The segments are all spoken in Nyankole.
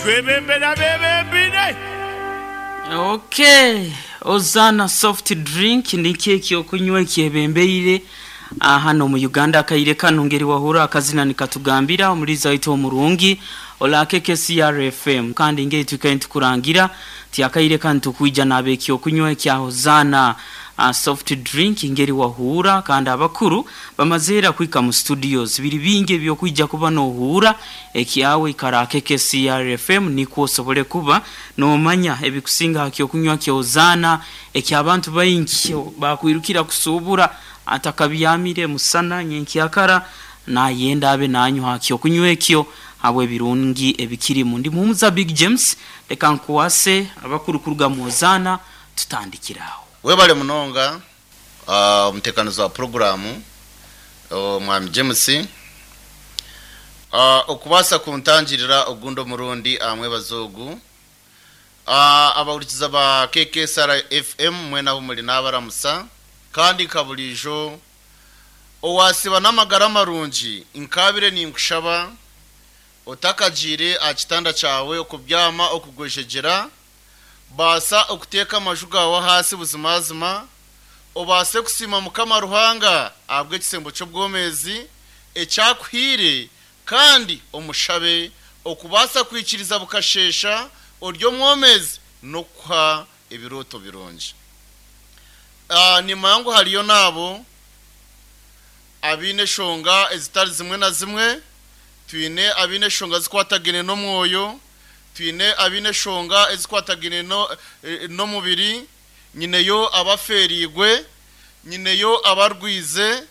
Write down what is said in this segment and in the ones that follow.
Twebembere abeebembeire. Ok, Ozana soft drink nikyo ekyokunywa ekyebembeire hanu omu Uganda akaire kanu ngeri wahurra akazina nikatugambira omuliiza waitu omurungi Olaake KCR FM kandi ngeri twikaire nitukurangira nti akaire kanu tukwija naaba ekyokunywa ekya Hosanna soft drink ngeri wahuura kandi abakuru bamaze ira kuhika mu studios biri bingi ebyokwija kuba nohuura ekyawe ikara ake KCR FM nikwo osobole kuba nomanya ebikusinga aha kyokunywa kya Hosanna ekyabantu baingi bakwirukira kusuubura atakabyamire musana nyenkyakara nayenda abe nanywa aha kyokunywa ekyo habw'ebirungi ebikirimu. Ndi Muhumuza Big James, leka nkukwase abakuru kuruga mu Hosanna tutandikire aho. Webale munonga omutekanizi wa puroguraamu Omwami James okubaasa kuntangirira ogundi omurundi aha mwebazo ogu. Abahurikiza ba KKSR FM mwena ahu muri nabaramusa kandi nka buriijo owasiiba n'amagara marungi nkaabire ninkushaba otakagiire aha kitanda kyawe okubyama okugwejegyera baasa okuteeka amaju gaawe ahaasi buzimazima obaase kusiima Mukama Ruhanga ahabw'ekisembo ky'obwomeezi eki akuhaire Kandi omushabe okubaasa kwikiriza bukasheesha ori omwomezi n'okukuha ebirooto birungi. Nimanya ngu hariyo n'abo abaine eshonga ezitari zimwe na zimwe. Twine abaine eshonga zikwatagaine n'omwoyo, twine abaine eshonga ezikwatagaine n'omubiri, nyineyo abafeereirwe, nyineyo abarwize,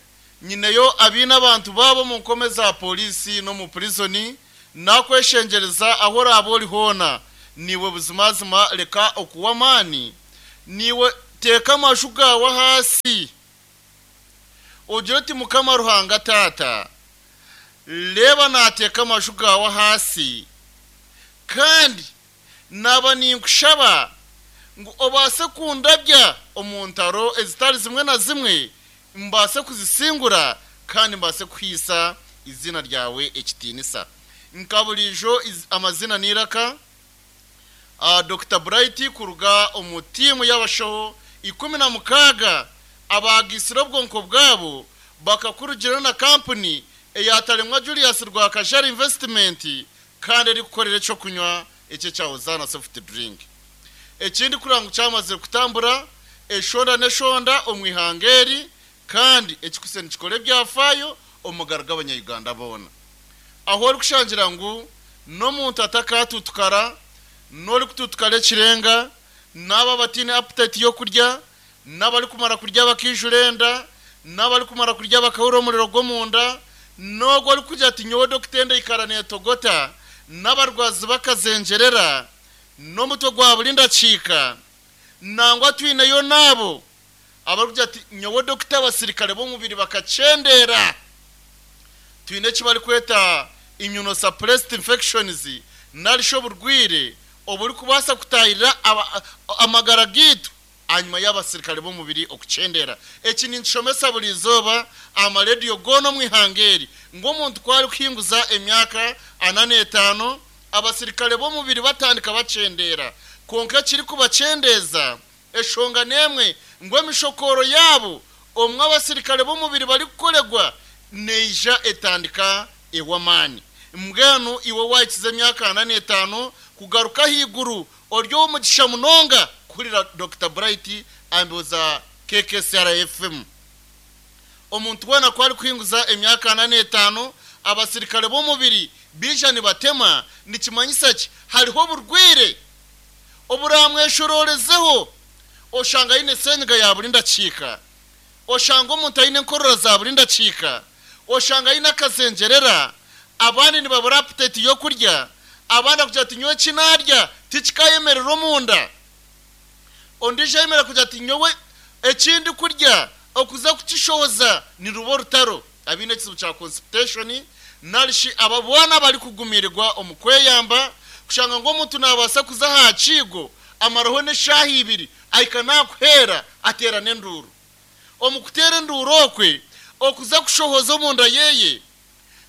Nyineyo abaine abantu baabo omu nkome za pooriisi n'omu purizoni, naakweshengyereza ahu oraabe ori hoona, naiwe buzimazima reka okuwa amaani, naiwe teeka amaju gaawe ahaasi, ogire oti, Mukama Ruhanga Taata, reeba naateeka amaju gaawe ahaasi, kandi Naaba ninkushaba ngu obaase kundabya omu ntaro ezitari zimwe na zimwe, mbaase kuzisingura kandi mbaase kuhaisa eiziina ryawe ekitiinisa. Nka buriijo amaziina n'eiraka, Dokita Bright kuruga omu tiimu y'abashaho 16 abaagaitsire obwonko bwabo bakakurugirayo na kampuni eya Taremwa Julius Rwakajara Investment kandi erikukorera eky'okunywa eki ekya Hosanna Soft Drink. Ekindi kureba ngu kyamazire kutambura eshonda n'eshonda omu ihanga eri kandi ekikutse nikikora ebyafaayo omu magara g'abanya-Uganda boona. Ahu orikushangira ngu n'omuntu atakaatuutukara, n'orikutuutukara ekirenga, n'abo abataine appetite y'okurya, n'abarikumara kurya bakaijura enda, n'abarikumara kurya bakahurira omuriro gw'omunda, n'ogwo orikugira ati, Nyowe dokita enda eikara neetogota, n'abarwazi bakazengyerera, n'omutwe gwa buri ndakiika. Nangwa twineyo n'abo abarikugira ati, Nyowe dokita abasirikare b'omubiri bakakyendeera. Twine eki barikweta immunosuppressed infections nari shi oburwaire oburikubaasa kutaahirira amagara gaitu. Ahanyima y'abasirikare b'omubiri okukyendera. Eki ninkishomesa buri izooba aha marediyo goona omu ihanga eri, ngu omuntu ku arikuhinguza emyaka ana n'etaano, abasirikare b'omubiri batandika bakyendera. Kwonka ekirikubakyendeeza, eshonga n'emwe, ngu emishokooro yaabo omu abasirikare b'omubiri barikukoregwa neija etandika ew'amaani. Mbwenu iwe waahikiza emyaka ana n'etaano kugaruka ahaiguru, Ori ow'omugisha munonga kuhurira Dokita Bright aha mbeho za KKCR FM. Omuntu weena ku arikuhinguza emyaka ana n'etaano, abasirikare b'omubiri baija nibatema, nikimanyisa ki? Hariho oburwaire oburamweshororezeho oshanga aine senyiga ya buri ndakiika, oshanga omuntu aine enkorora za buri ndakiika, oshanga aine akazengyerera, abandi nibabura aputeti y'okurya, abandi akugira ati nyowe eki naarya tikikaayemerera omunda, ondiijo ayemerera kugira ati nyowe eki ndikurya okuza kukishohoza niruba orutaro, abaine ekizibu kya constipation nari shi abo boona abarikugumiirwa omu kweyamba, kushanga ngu omuntu naabaasa kuza aha kiigo amaraho n'eshaaha ibiri ahika naakuheera ateera n'enduuru. Omu kuteera enduuru okwe, okuza kushohoza omunda ye,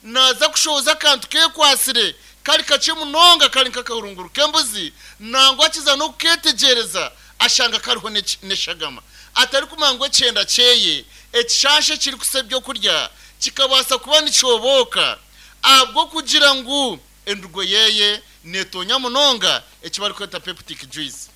naaza kushohoza akantu keekwatsire, Kari kakye munonga kari nk'akahurunguru k'embuzi, nangwa akiza n'okukeetegyereza ashanga kariho n'eshagama. Atarikumanya ngu ekyenda kyeye, ekishansha ekirikusa ebyokurya, kikabaasa kuba nikyobooka ahabw'okugira ngu endugo yeye neetoonya munonga eki barikweta peptic juice.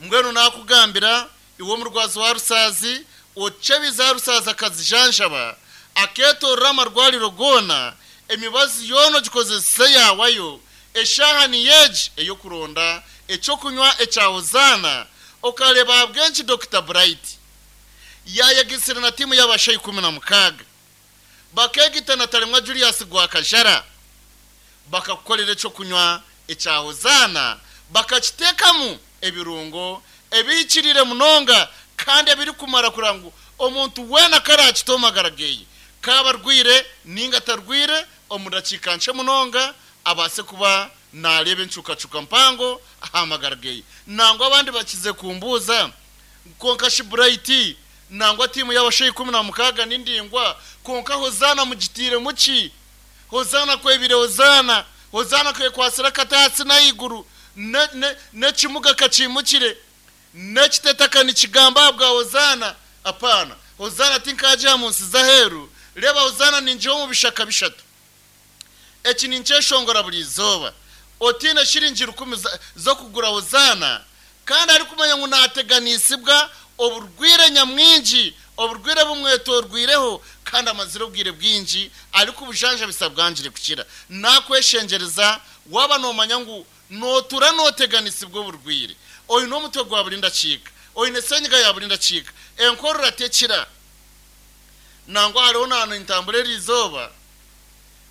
Mbwenu naakugambira iwe omurwazi wa rusaazi, ocebize aha rusaazi akazijanjaba, akeetoorora amarwariro goona, emibazi yoona ogikozese yaawayo, eshaaha niyo egi ey'okuronda eky'okunywa ekya Hozaana, okareeba ahabw'enki Dokita Bright yaayegaitsire na tiimu y'abashaho 16 bakeegaita na Talemwa Julius Gwakajara bakakukorera eky'okunywa ekya Hozaana bakakiteekamu ebirungo ebihikiriire munonga kandi ebirikumara kureba ngu omuntu weena ku araakite omu magara ge, kaaba arwaire nainga atarwaire, omu dakiika nkye munonga abaase kuba naareeba encukacuka mpango aha magara ge. Nangwa abandi bakize kumbuuza ngu kwonka shi Bright, nangwa tiimu y'abashaho 16 ni ndaingwa, kwonka Hozaana mugiteiremu ki? Hozaana kwebire Hozaana, Hozaana kwekwatsire akati ahansi n'ahaiguru, n'ekimuga kakiimukire, n'ekitetaka nikigamba ahabwa Hozaana. Apaana, Hozaana tinkaagiha mu nsi z'aheeru, reeba Hozaana ningiha omu bishaka bishatu. Eki ninkyeshongora buri izooba. Otaine shiringi rukumi z'okugura Hozaana, kandi arikumanya ngu naateganisibwa oburwaire nyamwingi, oburwaire bumwetoorwireho kandi amazire obwire bwingi arikubujanjabisa bwangire kukira. Naakweshengyereza waaba noomanya ngu nootuura nooteganisibwa oburwaire, oine omutwe gwa buri ndakiika, oine senyiga ya buri ndakiika, enkorora tekira, nangwa hariho naaba nintambura eriizooba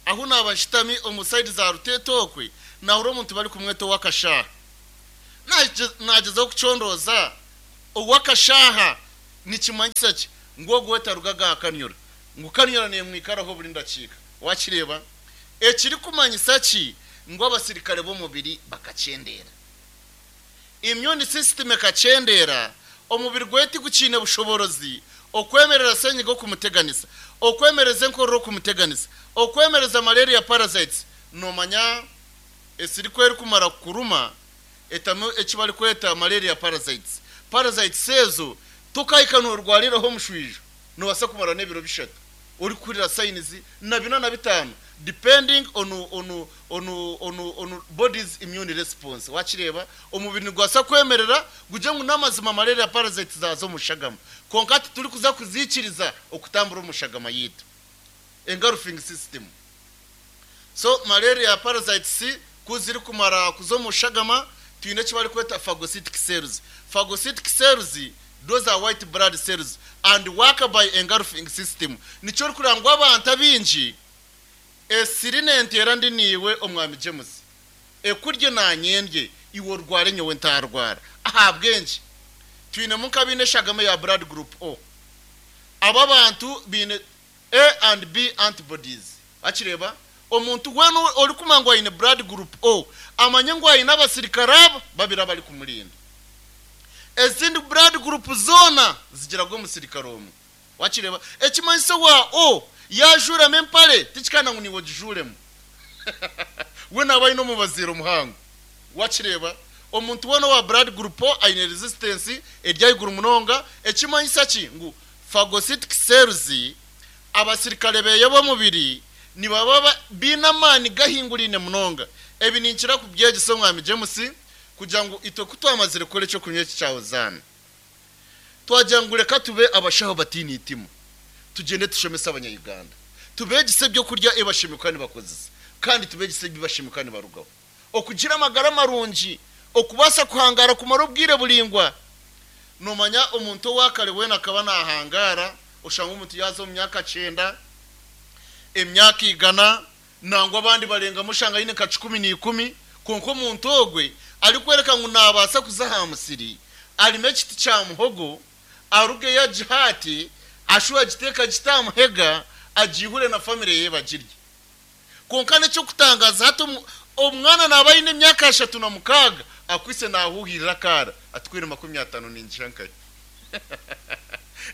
ahu naaba nshutami omu sayidi za Ruteete okwe, naahurira omuntu barikumweta ow'akashaaha. Naagyezaho kucondooza ow'akashaaha nikimanyisa ki? Ngu ogwo we tarugaga aha kanyura. Ngu kanyura neemwikaraho buri ndakiika. Waakireeba? Ekirikumanyisa ki? Ngu abasirikare b'omubiri bakakyendeera. Immune system ekakyendeera, omubiri gwe tigukiine bushoboorozi okwemerera senyiga okumuteganisa, okwemereza enkorora okumuteganisa, okwemereza malaria parasites. Noomanya esiri ku erikumara kukuruma, etamu eki barikweta malaria parasites. Parasites ezo tokahika noorwariraho omushwijo, noobaasa kumara n'ebiro bishatu orikuhurira signs na bina na bitaano depending on on on on on body's immune response. Waakireeba? Omubiri nigubaasa kwemerera gugire ngu n'amazima malaria parasites zaaza omu shagama kwonka titurikuza kuziikiriza okutambura omu shagama yaitu. Engulfing system. So malaria parasites ku zirikumara kuza omu shagama, twine eki barikweta phagocytic cells. Phagocytic cells those are white blood cells and work by engulfing system. Nikyo orikureba ngu abantu abaingi esiri nenteera ndi naiwe Omwami James, ekurye naanye ndye, iwe orware nyowe ntaarwara. Ahabw'enki? Twinemu nk'abaine eshagama eya blood group O. Abo abantu baine A and B antibodies. Wakireeba? Omuntu weena orikumanya ngu aine blood group O, amanye ngu aine abasirikare aba babiri abarikumurinda. Ezindi blood group zoona zigira gwe omusirikare omwe. Wakireeba? Ekimanyiso owa O yaajuuramu empare, tikikanda ngu naiwe ogijuuremu. We naaba aine omubaziiro muhango. Wakireeba? Omuntu weena owa blood group O aine resistance eri ahaiguru munonga. Ekimanyisa ki? Ngu phagocytic cells Abasirikare beye b'omubiri nibaba baine amaani gahinguraine munonga. Ebi ninkira kubyegyesa Omwami James kugira ngu itwe ku twamazire kukora eky'okunywa eki kya Hozaana, twagira ngu reka tube abashaho bataine eitima, tugyende tushomese Abanya-Uganda, tubeegyese eby'okurya ebi bashemereire kuba nibakozesa kandi tubeegyese ebi bashemereire kuba nibarugaho. Okugira amagara marungi, okubaasa kuhangaara kumara obwire buraingwa. Noomanya omuntu owa kare weena akaba naahangaara, oshanga omuntu yaaza omu myaka kyenda, emyaka igana, nangwa abandi barengamu oshanga aine nka kikumi na ikumi, kwonka omuntu ogwe arikworeka ngu naabaasa kuza aha musiri arime ekiti kya muhogo, arugeyo agihaate, ashube agiteeke agite aha muhega, agiihure na famire ye bagirye. Kwonka n'eky'okutangaaza hati omwana naaba aine emyaka 36 akwaitse naahuuhirira akaara ati ku eri 50 ningiha nkahi?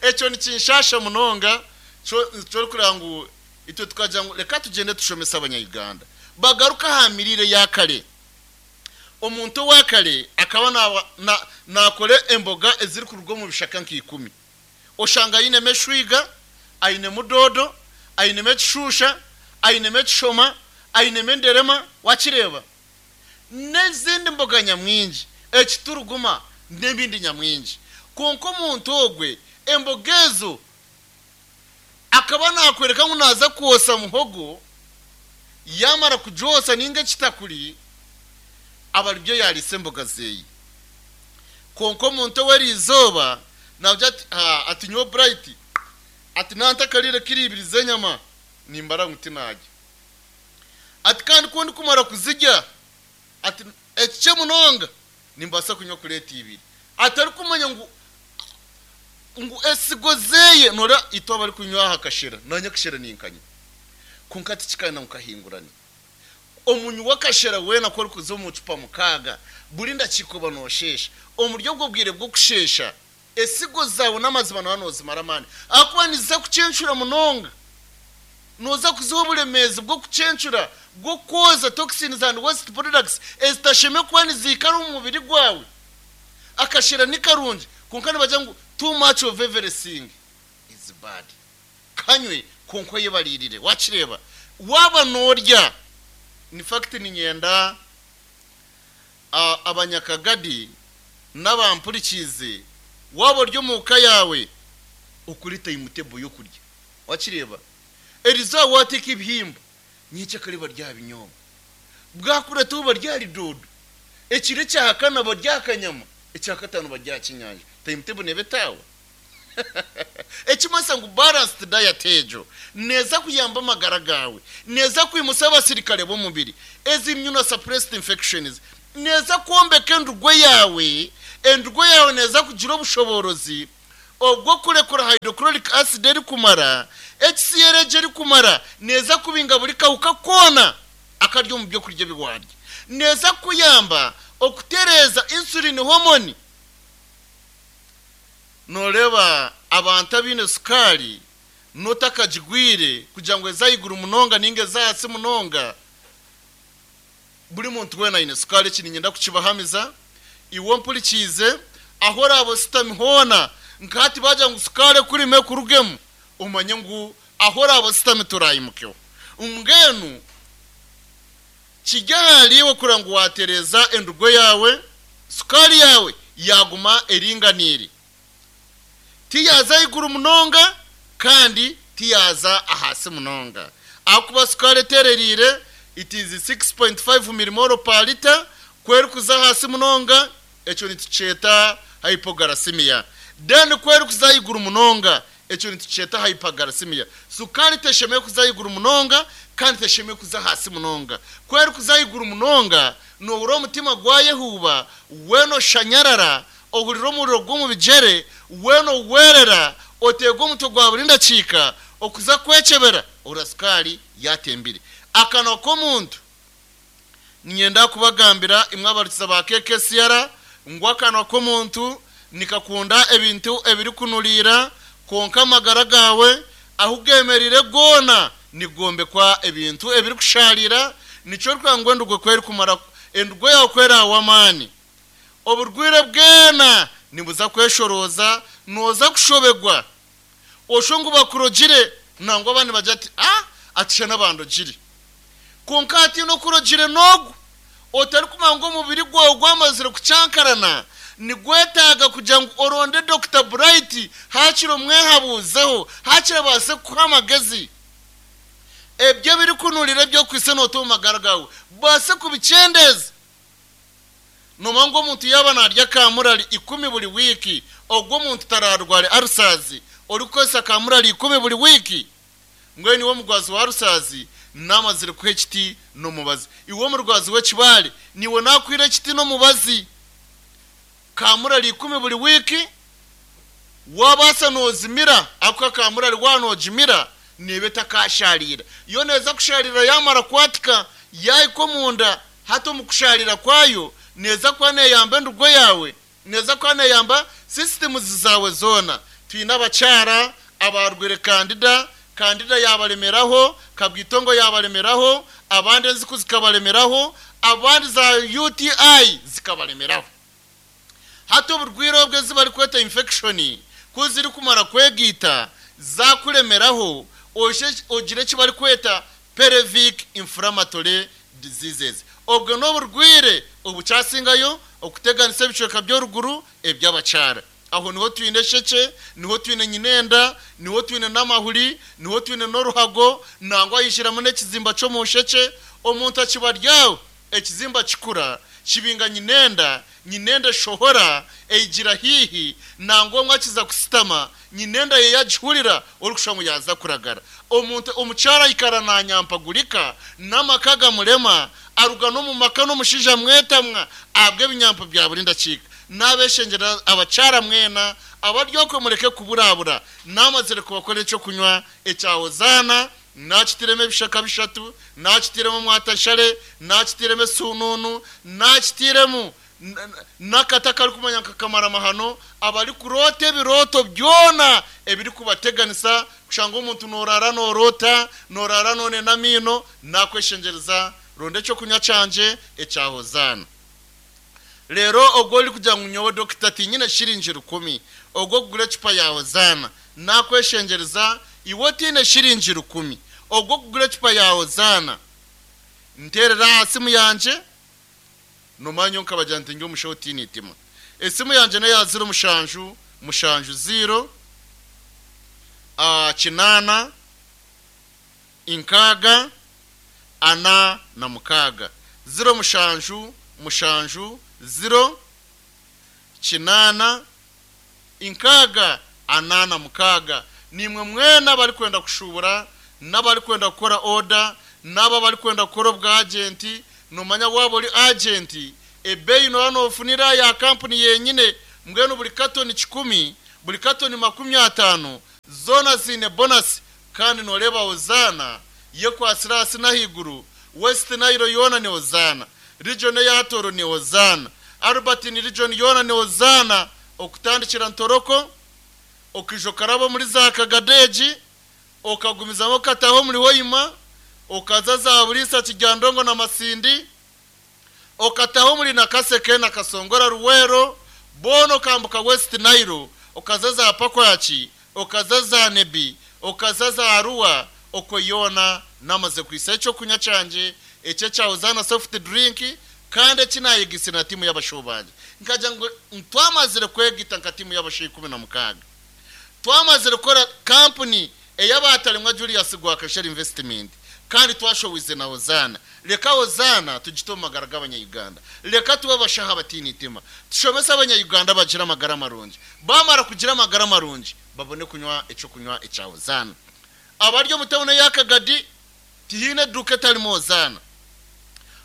Ekyo nikinshaasha munonga kyo orikureeba ngu itwe tukagira ngu reka tugyende tushomese Abanya-Uganda. Bagaruke aha miriire ya kare. Omuntu owa kare akaba naakora emboga ezirikuruga omu bishaka nka ikumi. Oshanga ainemu eshwiga, ainemu doodo, ainemu ekishuusha, ainemu ekishoma, ainemu enderema, waakireeba? N'ezindi mboga nyamwingi, ekituruguma n'ebindi nyamwingi. Kwonka omuntu ogwe emboga ezo akaba naakworeka ngu naaza kwosa muhogo, yaamara kugyosa nainga ekitakuri, aba aribyo yaariisa emboga zeeye. Kwonka omuntu ow'eriizooba naagira ati, Haa, ati nyowe Bright, ati naantakariire kiro ibiri z'enyama, nimbara ngu tinaarya. Ati kandi ku ndikumara kuzirya, ati ekikye munonga nimbaasa kunywa kureeti ibiri. Atarikumanya ngu ngu esigo zeeye, noreeba itwe abarikunywa aha kashera, naanye akashera ninkanywa, kwonka tikikana ngu kahingurane. Omunywi w'akashera weena ku orikuza omu cupa mukaaga, buri ndakiika oba noosheesha. Omuri obwo bwire bw'okusheesha, esigo zaawe n'amazima nooba noozimara amaani ahakuba niziza kucencura munonga. Nooza kuziha oburemeezi bw'okucencura, bw'okwoza toxins and waste products ezitashemereire kuba niziikara omu mubiri gwawe. Akashera ni karungi kwonka nibagira ngu too much of everything is bad. Kanywe kwonka oyebariirire. Wakireeba? Waaba noorya, in fact niinyenda abanyakagadi n'abampurikiize, waaba ori omu ka yaawe, okore timetable y'okurya. Wakireeba? Erizooba waateeka ebihimba, nyekyakare barye aha binyobwa. Bwakurataho barye ahari doodo. Ekiro ekya kana barye aha kanyama, ekya kataano barye aha kyenyanja. Timetable neeba etaawa. Ekimanyisa ngu balanced diet egyo neeza kuyamba amagara gaawe, neeza kwimutsya abasirikare b'omubiri, ezi immunosuppressed infections, neeza kwombeka endurwe yaawe, endurwe yaawe neeza kugira obushoboorozi obw'okurekura hydrochloric acid erikumara, HCl egyo erikumara neeza kubinga buri kahuka koona akari omu by'okurya ebi waarya. Neeza kukuyamba okutereeza insulin hormone. Nooreeba abantu abaine sukaari n'otakagigwire kugira ngu eze ahaiguru munonga nainga eze ahansi munonga. Buri muntu weena aine sukaari, eki niinyenda kukibahamiza. Iwe ompurikiize, ahu oraabe oshutami hoona, nka hati baagira ngu sukaari ekurime ekurugemu, omanye ngu ahu oraabe oshutami toraayimukeho. Mbwenu Kiri ahariiwe kureba ngu waatereeza endugo yaawe, sukaari yaawe yaaguma eringaniire. Tiyaaza ahaiguru munonga kandi tiyaaza ahaasi munonga. Ahakuba sukaari eteerereire, it is 6.5 millimole per litre, ku erikuza ahaasi munonga, ekyo nitukyeta hypoglycemia. Then ku erikuza ahaiguru munonga, ekyo nitukyeta hyperglycemia. Sukaari teshemereire kuza ahaiguru munonga kandi teshemereire kuza ahaasi munonga. Ku erikuza ahaiguru munonga, nohurira omutima gwayehuuba, weena oshanyarara, ohurira omuriro gw'omu bigyere, weena owerera, oteegwa omutwe gwa buri ndakiika, okuza kwekyebera ohurira sukaari yatembire. Akanwa k'omuntu. Niinyenda kubagambira imwe abarikiza ba KKCR ngu akanwa k'omuntu nikakunda ebintu ebirikunuriira, kwonka amagara gaawe ahu geemereire goona nigombekwa ebintu ebirikushaarira. Nikyo orikureeba ngu endugo ku erikumara, endugo yaawe ku eraawe amaani, oburwaire bwena nibuza kweshorooza, nooza kushobegwa oshwe ngu bakurogire nangwa abandi nibagira ati, Ah, ati shana bandogire. Kwonka hataine okurogire n'ogwo otarikumanya ngu omubiri gwawe gwamazire kucankarana, nigwetaaga kugira ngu oronde Dokita Bright haakiri omwehabuuzeho, haakiri abaase kukuha amagezi. Ebyo ebirikunurira eby'okwitsa noota omu magara gaawe, baase kubikyendeeza. Noomanya ngu omuntu yaaba naarya kaamurari ikumi buri wiiki, ogwo omuntu taraarware arusazi orikukozesa kaamurari ikumi buri wiiki? Mbwenu iwe omurwazi wa arusazi, naamazire kuha ekiti n'omubazi. Iwe omurwazi w'ekibaare, naiwe naakuhaire ekiti n'omubazi. Kaamurari ikumi buri wiiki, waabaasa noozimira, ahabw'okuba kaamurari waaba noogimira, neeba etakaashaariira. Yo neeza kushaariira yaamara kwatika, yaahika omunda, Hati omu kushaarira kwayo, neeza kuba neeyamba endugo yaawe, neeza kuba neeyamba sisitimuzi zaawe zoona. Twine abakyara abaarwaire kandida. Kandida yabaremeraho, Kabwitongo yabaremeraho, abandi enziku zikabaremeraho, abandi za UTI zikabaremeraho. Hati oburwire obwo ezi barikweta infection ku zirikumara kwegaita zakuremeraho oije ogire eki barikweta pelvic inflammatory diseases. Obwo n'oburwire obukyasingayo okuteganisa ebicweka by'oruguru eby'abakyara. Aho niho twine eshekye, niho twine nyinenda, niho twine n'amahuri, niho twine n'oruhago, nangwa haijiramu n'ekizimba ky'omu nshekye. Omuntu akiba ari aho, ekizimba kikura, kibinga nyinenda, nyinenda eshohora, eigira haihi, nangwa omwe akiza kusitama, nyinenda ye yagihurira, orikushusha ngu yaaza kuragara. Omuntu, omukyara aikara nanyampagurika, n'amaka gamurema, aruga n'omu maka n'omushaija amwetamwa ahabw'ebinyampo bya buri ndakiika. Naabeshengyerera abakyara mwena abari okwe mureke kuburabura, naamazire kubakorera eky'okunywa ekya Hozaana, naakitiremu ebishaka bishatu, naakitiremu omwatashare, naakitiremu esuunuunu, naakitiremu n'akati akarikumanya nka kamaramahano, abarikuroota ebirooto byona ebirikubateganisa, kushanga omuntu noorara nooroota, noorara noonena amaino, naakweshengyereza ronda eky'okunywa kyangye ekya Hozaana. Reero ogwo orikugira ngu nyowe dokita tinyine shiringi rukumi ogw'okugura ecupa ya Hozaana, naakweshengyereza iwe otaine shiringi rukumi ogw'okugura ecupa ya Hozaana, nteerera aha simu yangye. Noomanya nyowe nkabagira nti ndi omushaho otaine itima. Esimu yangye n'eya ziro mushanju mushanju ziiro kinaana nkaaga ana na mukaaga, ziro mushanju mushanju ziro kinaana nkaaga ana na mukaaga. Naimwe mwena abarikwenda kushuubura n'abarikwenda kukora oda n'abo abarikwenda kukora obwajenti, noomanya waaba ori ajenti, ebeeyi nooba noofunira ya kampuni yenyine. Mbwenu buri katoni kikumi, buri katoni 50, zoona ziine bonasi. Kandi nooreeba Hozaana yekwatsire ahansi n'ahaiguru, West Nile yoona ni Hozaana, Region eya Toro ni Hozaana, Albertine Region yoona ni Hozaana, okutandikira Ntoroko, okaija okaraba omuri za Kagadeegi, okagumizamu okataaha omuri Hoima, okaza za Buriisa, Kiryandongo na Masindi, okataha omuri Nakaseke na Kasongora Luweero, boona okambuka West Nile, okaza za Pakwaki, okaza za Nebbi, okaza za Arua, okwo yoona namaze kuhitsya ekyokunywa kyangye eki ekya Hozaana Soft Drink kandi eki nayegaitsire na tiimu y'abashaho bangye. Nkagira ngu twamazire kwegaita nka tiimu y'abashaho 16. Twamazire kukora kampuni ey'abatarimwa Julius Gwakashera Investment kandi twashowize na Hozaana. Reka Hozaana tugite omu magara g'abanya-Uganda. Reka tube abashaho abataine itima. Tushomese abanya-Uganda bagire amagara marungi. Baamara kugira amagara marungi, babone kunywa eky'okunywa ekya Hozaana. Abari omu tauni eya Kagadi, tihaine eduuka etarimu Hozaana.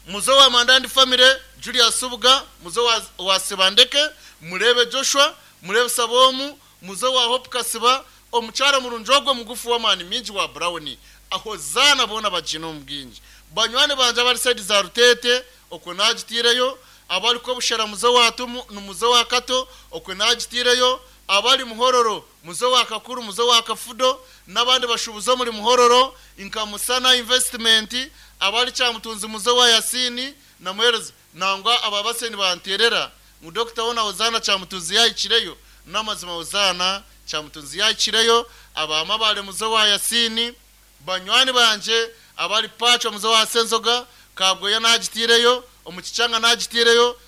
Muze owa Mandandi Family, Julius Subuga, muze owa Sibandeke, mureebe Joshua, mureebe Saboomu, muze owa Hope Kasiba, omukyara murungi ogwo mugufu w'amaani mingi wa Brown. Hozaana boona bagiine omu bwingi. Banywani bangye abari saidi za Ruteete, okwo naagitaireyo, abari Kobushera muze owa Tumu, muze owa Kato, okwo naagitaireyo, abari Muhororo muze owa Kakuru, muze owa Kafudo, n'abandi bashuubuzi omuri Muhororo nka Musana Investment, abari Kyamutunzi muze owa Yasini na Muheereza. Nangwa aba base nibanteerera ngu Dokita hoona Hozaana Kyamutunzi yaahikireyo. N'amazima Hozaana Kyamutunzi yaahikireyo, aba Mabare muze owa Yasini, banywani bangye abari Paachwa muze owa Senzoga, Kabwoya naagitaireyo, omu Kichanga naagitaireyo,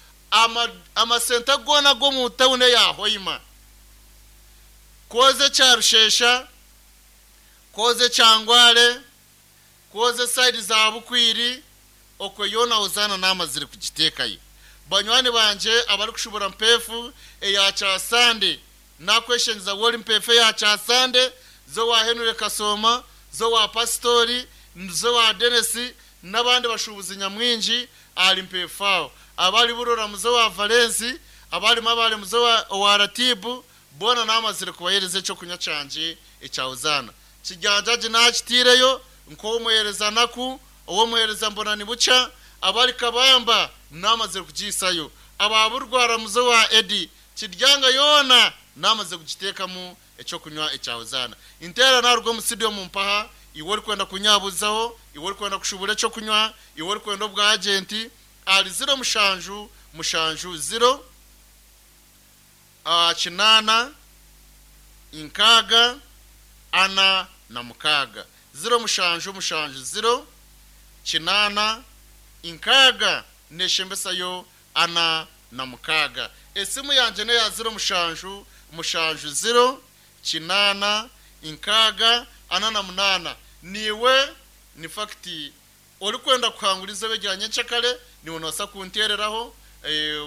amasenta goona ag'omu tauni eya Hoima, kwoza ekya Rushesha, kwoza ekya Ngware, Kwoza esayidi za Bukwiri, okwo yoona Hozaana naamazire kugiteekayo. Banywani bangye abarikushubura Mpeefu eya Kyasande, naakweshengyeza wori Mpeefu eya Kyasande, z'owa Henry Kasooma, z'owa Pasitori, z'owa Dennis n'abandi bashuubuzi nyamwingi ahari Mpeefu aho. Abari Burora muze owa Valensi, abari Mabare muze owa Ratibu, boona naamazire kubaheereza eky'okunywa kyangye ekya Hozaana. Kijanjagi naakitaireyo nk'ow'omuheereza Naku, ow'omuheereza Mbonanibukya, abari Kabamba naamazire kugihisayo, aba Burwara muze owa Eddy, Kiryanga yoona naamazire kugiteekamu ekyokunywa ekya Hozaana. Nteera naruga omu studio mumpaha, iwe orikwenda kunyabuzaho, iwe orikwenda kushubura ekyokunywa, iwe orikwenda obwa agenti, ahari ziro mushanju mushanju ziro kinaana nkaaga ana na mukaaga. Ziro mushanju mushanju ziro kinaana nkaaga neshembesayo ana na mukaaga. Esimu yangye n'eya ziro mushanju mushanju ziro kinaana nkaaga ana na munaana. Niiwe ni fakiti orikwenda kuhangura eizooba erya nyencakare, niiwe noobaasa kunteereraho,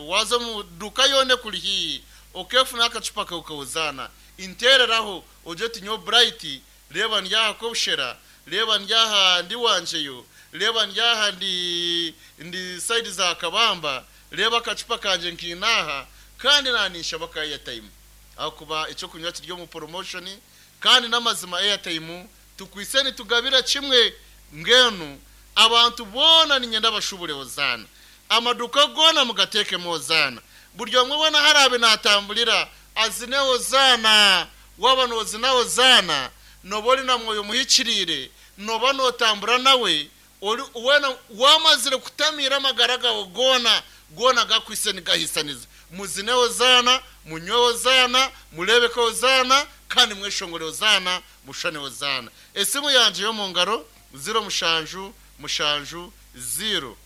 waaza omu duuka yoona ekuri haihi, okeefunaho akacupa kaawe kahozaana. Nteereraho ogire oti nyowe Bright, reeba ndi aha Kobushera, reeba ndi aha ndi Wangyeyo, reeba ndi aha ndi ndi sayidi za Kabamba, reeba akacupa kangye nkaine aha, kandi naaninshaba ka airtime. Ahakuba eky'okunywa kiri omu poromoshoni, kandi n'amazima airtime Tukwitse nitugabira kimwe mbwenu abantu boona niinyenda bashubure Hozaana. Amaduuka goona mugateekemu Hozaana. Buri omwe weena ahu araabe naatamburira azine Hozaana. Waaba noozina Hozaana, nooba ori na Mwoyo Muhikiriire, nooba nootambura nawe, ori weena waamazire kutamiira amagara gaawe goona, goona gakwitse nigahaisaniza. Muzine Hozaana, munywe Hozaana, mureebeke Hozaana, kandi mweshongore Hozaana, mushushane Hozaana. Esimu yangye y'omu ngaro, ziro mushanju, mushanju, ziro,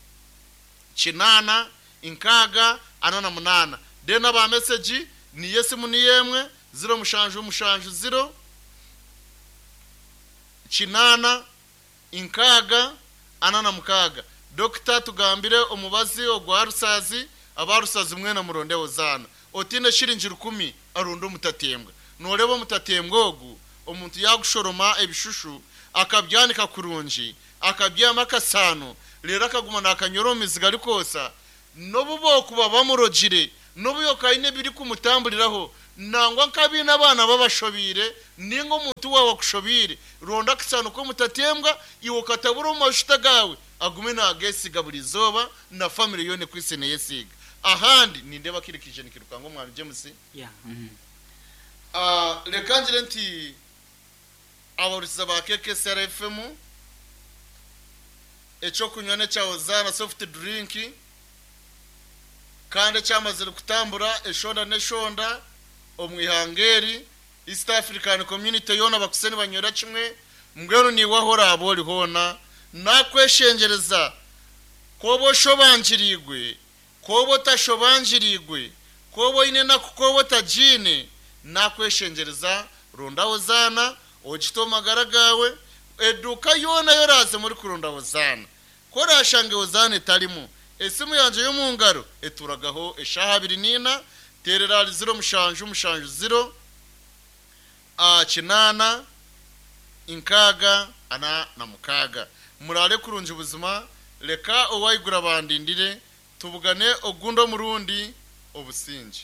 kinaana, nkaaga, ana na munaana. Then aba mesegi, niyo esimu niyo emwe, ziro mushanju, mushanju, ziro, kinaana, Nkaaga, ana na mukaaga. Dokita tugambire omubazi ogwa Rusazi, aba Rusazi mwena muronde Hozaana. Otiine shiringi rukumi aronde omutatembwa. Noreeba omutatembwa ogu, omuntu yagushoroma ebishushu akabyanika kurungi, akabyihamu akasaano, reero akaguma nakanyora omu mizi garikwotsya, N'obu bookuba bamurogire, n'obu yookuba aine ebirikumutamburiraho, nangwa nk'abaine abaana babashobeire, nainga omuntu waawe akushobeire, ronda akasaano k'omutatembwa, iwe okatabura omu majuta gaawe, agume naageesiiga buri izooba, na famire yoona ekwitse neeyesiiga. Ahandi, nindeeba akaire kaija nikiruka ngu Omwami James. Reka ngire nti abahurikiza ba KKCR FM, Eky'okunywa n'ekya Hozaana soft drink kandi ekyamazire kutambura eshonda n'eshonda omu ihanga eri, East African Community yoona bakwitse nibanywera kimwe, mbwenu naiwe ahu oraabe ori hoona nakweshengyereza ku oba oshobangiriirwe, ku oba otashobangiriirwe, ku oba oine enaku ku oba otagiine, nakweshengyereza ronda Hozaana Ogite omu magara gaawe, eduuka yoona ei oraazemu orikuronda Hozaana. Ku oraashange Hozaana etarimu, esimu yangye y'omu ngaro etuuragaho eshaaha abiri n'ina, teerera ahari ziro mushanju mushanju ziro, kinaana, nkaaga, ana na mukaaga. Muraare kurungi buzima, reka Owaiguru abandindire, Tubugane ogundi omurundi. Obusingye.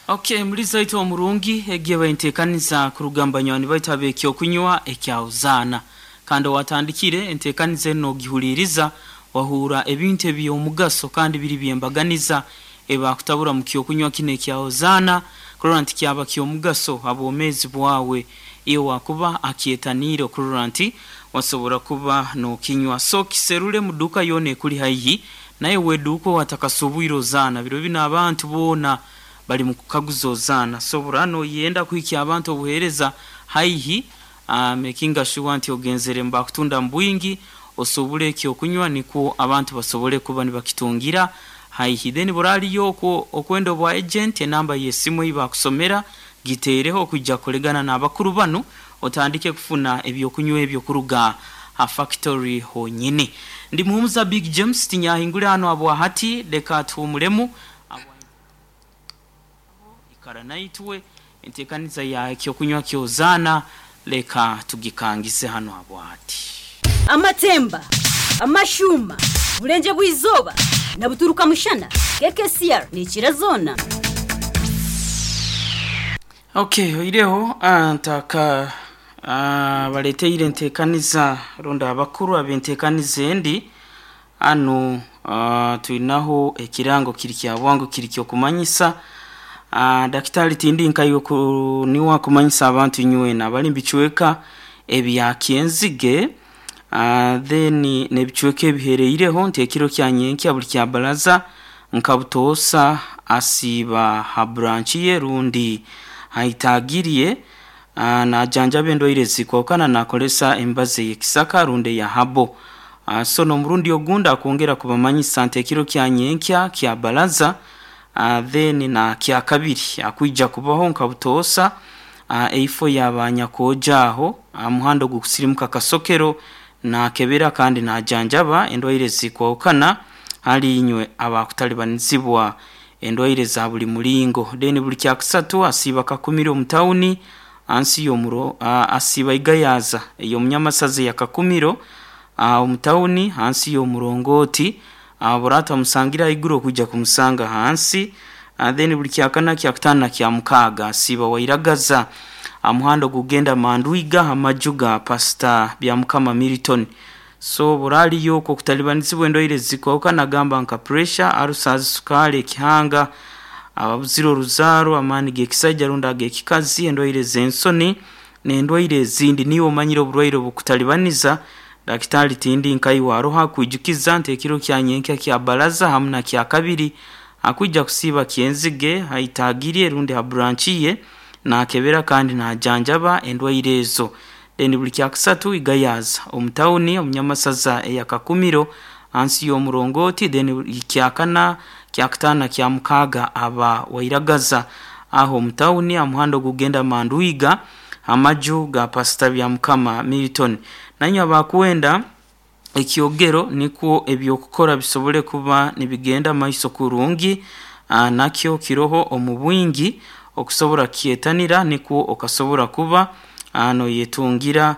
Ok muri zaitu omurungi egi eba entekaniza kuruga mu banywani baitu ab'ekyokunywa ekya Hozaana. Kandi owatandikire entekaniza enu nogihuliriza wahuura ebintu eby'omugaso kandi biri by'embaganiza ebakutabura mu kyokunywa kinu ekya Hozaana kurora nti kyaba ky'omugaso ha bwomeezi bwawe iwe wakuba akyetaniire okurora nti wasobora kuba nokinywa. So kiserule mu duuka yoona ekuli haihi Naye weduuka owatakasubwire ozaana biro binu abantu boona bali mukukaguza ozaana so obura noyenda kuhikya abantu obuhereza haihi makinga sure nti ogenzere mubakutunda mubwingi osubule ekyokunywa nikwo abantu basobole kuba nibakitungira haihi then buraliyo okwo okwenda obwa agent enamba yesimu eyibakusomera giteereho okwija kukoregana nabakuru banu Otandike kufuna eby'okunywa ebyo kuruga ha fakitori honyini. Ndi Muhumuza Big James, tinyahingura hanu habwahati, leka tuhuumuremu. Aho ikara naitwe, enteekaniza ya eky'okunywa ky'ozaana leka tugikangize hanu habwahati. Amatemba, amashuuma, Burengye bw'eizooba na buturuka mushana, KKCR neekira zoona. Ok oireho ntaka baleteire entekaniza rundi abakuru abentekaniza endi hanu twinaho ekirango kiri kyabwangu kiri kyokumanyisa. Dakitari tindi nkaiwe ku niwe akumanyisa abantu inywena abali mu bicweka ebya Kyenzige then n'ebicweka ebihereireho nti ekiro kya nyenkya buli kya baraza nka butoosa asiiba ha branch ye rundi ha itaagi rye najanjaba endwaire ezikwahukana nakoresa emibazi ey'ekisaka rundi eya herbal. So n'omurundi ogundi akwongera kubamanyisa nti ekiro kya nyenkya kya baraza Then na kyakabiri akwija kubaho nka butoosa eifo ya ba nyakooja aho aha muhanda ogukusirimuka Kasokero nakebera kandi najanjaba endwaire ezikwahukana hali inywe abakutalibanizibwa endwaire za buli mulingo. Then buli kyakusatu asiiba Kakumiro omu tawuni ansi y'omuro asiiba Igayaza ey'omunyamasaza eya Kakumiro omu tawuni hansi y'omurongooti. Abura tamusangire ahaiguru okwija kumusanga ahansi. Then buli kyakana, kyakutaano na kyamukaaga asiiba Wairagaza aha muhanda ogukugenda Mandwiga aha maju ga Pastor Byamukama Milton. So buri ariyo okwo okutalibanizibwa endwaire ezikwahukana gamba nka pressure, ulcers, sukaali, ekihanga, ababuzire oruzaaro, amaani g'ekisaija rundi ag'ekikazi, endwaire z'ensoni, N'endwaire ezindi. Niiwe omanyire oburwaire obukutalibaniza? Dakitaali tindi nkaiwe aroho akwijukiza nti ekiro kya nyenkya kya Baraza hamu na Kyakabiri akwija kusiiba Kyenzige ha itaagi rye rundi ha branch ye nakebera kandi najanjaba endwaire ezo. Then buli Kyakusatu Igayaza omu tawuni omu Nyamasaza eya Kakumiro hansi y'omurongooti then Kyakana, Kyakutaano na Kyamukaaga aba Wairagaza aho omu tawuni aha muhanda ogukugenda Mandwiga amaju ga Pasita Byamukama Milton. Nainywe abakwenda ekyogero nikwo eby'okukora bisobole kuba nibigenda maiso kurungi, nakyo kiroho omu bwingi okusobora kukyetanira nikwo okasobora kuba noyetungira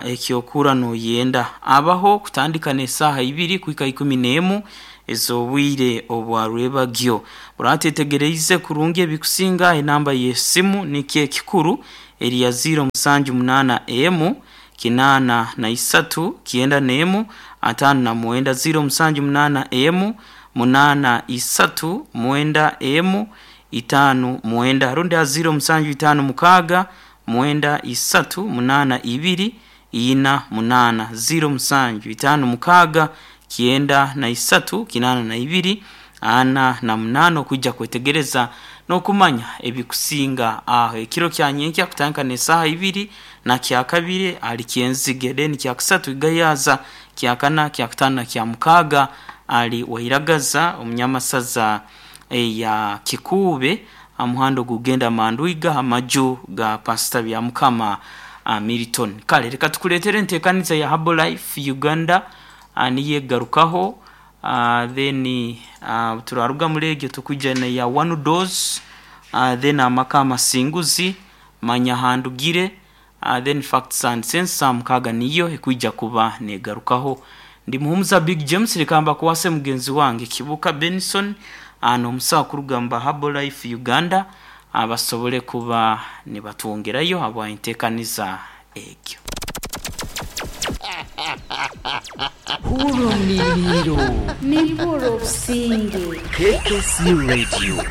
eky'okura noyenda. Abaho kutandika n'esaaha ibiri kuhika ikumi n'emu ez'obwire obwa rwebagyo. Oratetegereize kurungi ebikusinga, enamba y'esimu nikyo ekikuru eri ya ziiro musanju munaana emu, kinaana na isatu, kyenda n'emu, ataano na mwenda, ziiro musanju munaana emu, munaana isatu, mwenda emu, itaanu mwenda, rundi ha ziiro musanju itaanu mukaaga, mwenda isatu, munaana ibiri, ina munaana, ziiro musanju itaanu mukaaga, kyenda na isatu, kinaana na ibiri, ana na munaana okwija kwetegereza n'okumanya ebikusinga aho. Ekiro kya nyenkya kutandika n'esaaha ibiri na kyakabiri ali Kyenzige, then kyakusatu Igayaza, kyakana, kyakutaano na kyamukaaga ali Wairagaza omunyamasaza eya Kikuube aha muhanda ogukugenda Mandwiga aha maju ga Pasita Byamukama Milton. Kale leka tukuleetere enteekaniza ya Herbalife Uganda niyo egarukaho then turaruga muri egyo tukwija neya One Dose then amaka amasinguzi, manya ahandugire then Facts and Sense saaha mukaaga niyo ekwija kuba negarukaho. Ndi Muhumuza Big James leka mbakwase mugenzi wange Kibuuka Benson n'omusawo kuruga mu ba Herbalife Uganda basobole kuba nibatwongerayo habwa entekaniza egyo. Huura omuriiro. Nimpuura obusinge. KKC Radio.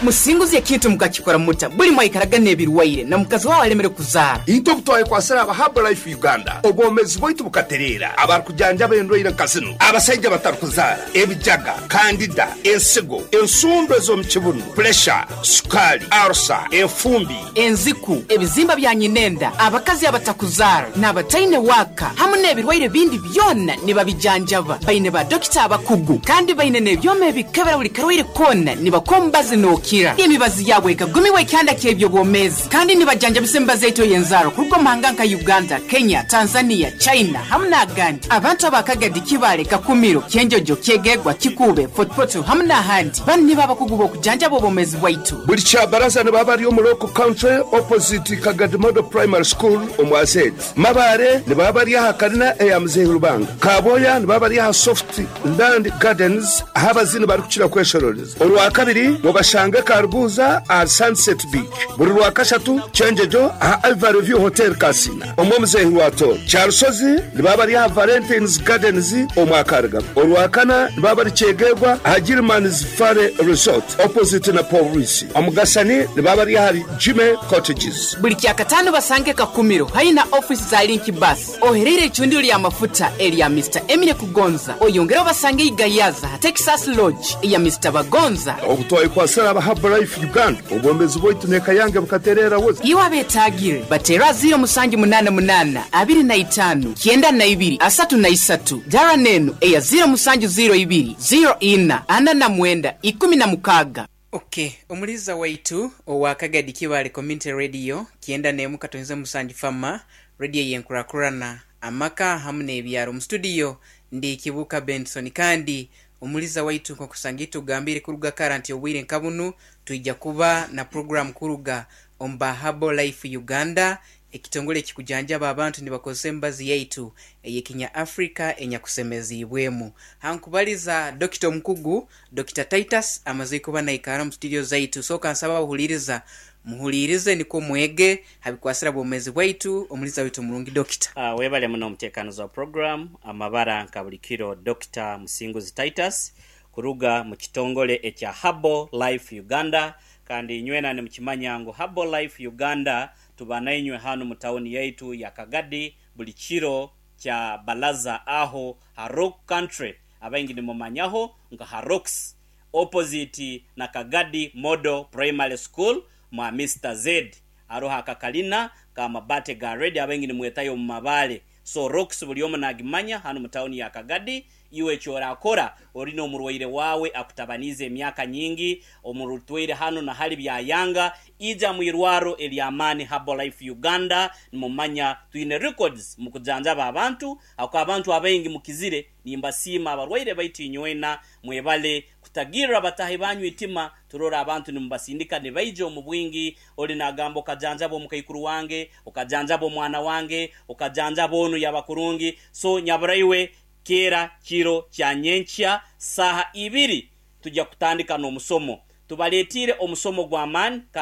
Musinguzi ekintu mukakikora muta buli mwaikaraga n'ebirwaire na mukazi waawe alemere kuzaara. Itwe obu twayekwasire aba Herbalife Uganda, obwomeezi bwaitu bukatereera. Abarukujanjaba endwaire nka zinu, abasaija abatarukuzaara, ebijaga, kandida, ensigo, ensundo ez'omu kibunu, puresha, sukaali, arusa, enfumbi, enziku, ebizimba bya nyinenda, abakazi abatakuzaara, n'abataine waaka hamu n'ebirwaire bindi byona nibabijanjaba. Baine ba dokita abakugu kandi baine n'ebyoma ebikebera buli karwaire koona nibakuha omubazi nookira. Emibazi yaabo ekagumirwe ekihanda ky'eby'obwomeezi kandi nibajanjabisa emibazi yaitu ey'enzaarwa kuruga omu mahanga nka Uganda, Kenya, Tanzania, China hamu n'agandi. Abantu aba Kagadi, Kibaale, Kakumiro, Kyenjojo, Kyegegwa, Kikuube, Fort Portal hamu n'ahandi. Banu nibo abakugu b'okujanjaba obwomeezi bwaitu. Buli Kyabaraza nibaba bari omu Local Country opposite Kagadi Model Primary School omu Azeedi. Mabaare nibaba bari aha karina eya Muzeeyi Rubanga. Kabwoya nibaba bari aha Soft Land Gardens ahu abaziini barikukira kweshororeza. Orwakabiri mubashange. Obasange Karuguuza ahari Sunset Beach. Buri Rwakashatu, Kyengyegyo aha Ivory View Hotel Kasina omwa Muzeehi Rwatooro. Kyarusozi nibaba bari aha Valentines Gardens omwa Karugabo. Orwakana nibaba bari Kyegegwa aha Gilman's Valley Resort opposite na Pooriisi. Omugasani nibaba bari ahari Jimmy Cottages. Buri Kyakataano basange Kakumiro haihi na ofiisi za Link Bus. Ohereire eicundiro rya mafuta erya Mister Emile Kugonza, oyongere obasange ei Gayaza ha Texas Lodge eya Mister Bagonza. Obu twayekwatsire aba Herbalife Uganda, obwomeezi bwaitu n'eka yange bukatereera buza. Iwe abeetaagire, bateere aha 0788 25 92 33, Dara n'enu eya 0702 04 49 16. Ok, omuliiza waitu owa Kagadi Kibaale Community Radio 91.7 Fama, Radio eyenkurakurana, amaka hamu n'ebyaro. Mu studio ndi Kibuuka Benson kandi omuliiza waitu nkokusanga itugambiire kuruga kara nti obwire nka bunu twija kuba na program kuruga omu ba Herbal Life Uganda Ekitongole ekikujanjaba abantu nibakozesa emibazi yaitu ey'ekinya Africa enyakusemeziibwemu. Hankubaliza Dokita omukugu, Dokita Titus amaze kuba naikara omu studio zaitu. So kansaba abahuliiriza muhuliirize nikwo mwege habikwasira bwomezi bwaitu. Omuliiza waitu omurungi Dokita. Webale muno omutekanizi wa program Amabara nka buli kiro Dokita Musinguzi Titus kuruga mukitongole ekya Herbal Life Uganda kandi inywena nimukimanya ngu Herbal Life Uganda Tuba nainywe hanu mu tawuni yaitu ya Kagadi buli kiro kya Balaza aho ha Rock Country, abaingi nimumanyaho nka ha Rocks, opposite na Kagadi Model Primary School mwa Mister Z. Haroho akakalina ka mabate ga red abaingi nimwetayo omu mabale. So Rocks buli omu nagimanya hanu mu tawuni ya Kagadi. Iwe eki orakora ori n'omurwaire waawe akutabaniize emyaka nyingi, omurutwaire hanu na hali byayanga, ija mu irwaro ery'amaani Herbalife Uganda. Nimumanya twine records mu kujanjaba abantu, ahakuba abantu abaingi mukizire. Nimbasiima abarwaire baitu inywena mwebale kutagirra batahi banyu itima. Turora abantu nimubasindika nibaija omu bwingi, ori nagamba okajanjaba omukaikuru wange, okajanjaba omwana wange, okajanjaba onu yaba kurungi. So nyaburaiwe Keera kiro kya nyenkya saaha ibiri tugya kutandika n'omusomo. Tubaletiire omusomo gw'amaani.